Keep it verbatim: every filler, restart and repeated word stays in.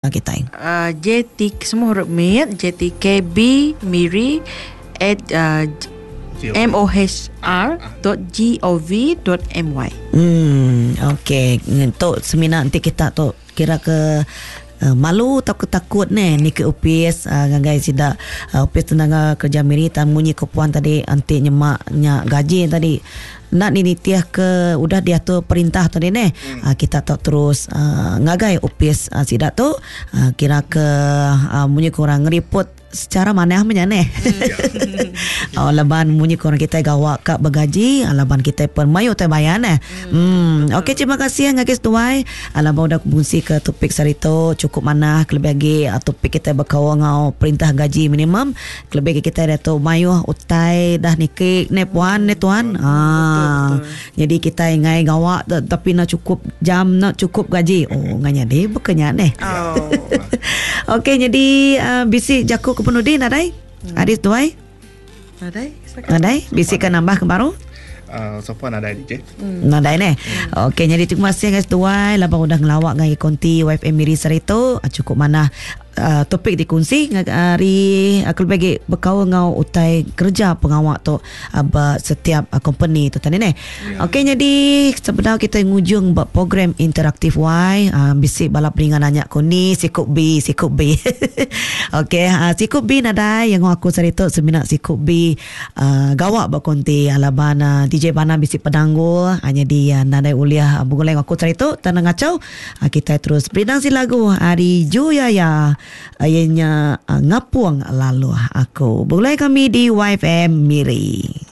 Kita. Uh, J T semua huruf mit, J T K B Miri at uh, M O H R dot gov dot my. Hmm, okey. Untuk semina nanti kita tu kira ke uh, malu atau ketakut ni ni ke upis uh, ngagai sida uh, upis tenaga kerja Miri tan munyi ke puan tadi anti nyemak nya gaji tadi nak ni nitiah ke udah diatur perintah tadi ni hmm. uh, kita tak terus uh, ngagai upis uh, sida tu uh, kira ke uh, munyi kurang ngeriput secara mana amanya ne. Hmm. Oh, laban munyi korang kita gawak kak bergaji, laban kita pun mayu te bayar ne. Hmm. hmm. Okey, terima kasih ngagai seduai. Laban udah kongsi ke topik sarito cukup mana kelebih lagi topik kita berkawal ngau perintah gaji minimum. Kelebih kita dah tu mayu utai dah niki ne puan ne tuan. Ah. Jadi kita ngai gawak tapi nak cukup jam, nak cukup gaji. Oh, nganya deh bukannya ne. Oh. Okey, jadi uh, bisi jaku ke penudi nadai? Hmm. Adis tuai? Nadai. Nadai? Bisi kan nambah ke baru? Uh, so far nadai D J. Hmm. Nadai ne. Hmm. Okey, jadi terima kasih guys tuai laban udah ngelawak ngai konti Y F M Miri sarito. Cukup mana uh, topik dikongsi hari aku bagi bekau ngau utai kerja pengawak tu uh, setiap uh, company tu tadi ne. Yeah. Okey, jadi sebenarnya kita ngujung buat program interaktif Y uh, bisi balap ringan nanya ko ni sikut B sikut B. Okey, uh, sikut B nadai yang aku cerita semina sikut B uh, gawak buat konti alaban uh, D J Bana bisi penanggul hanya di uh, nadai uliah uh, buguleng aku cerita tanah ngacau uh, kita terus berinang si lagu hari Juyaya ayahnya uh, ngapuang lalu aku. Boleh kami di Y F M Miri.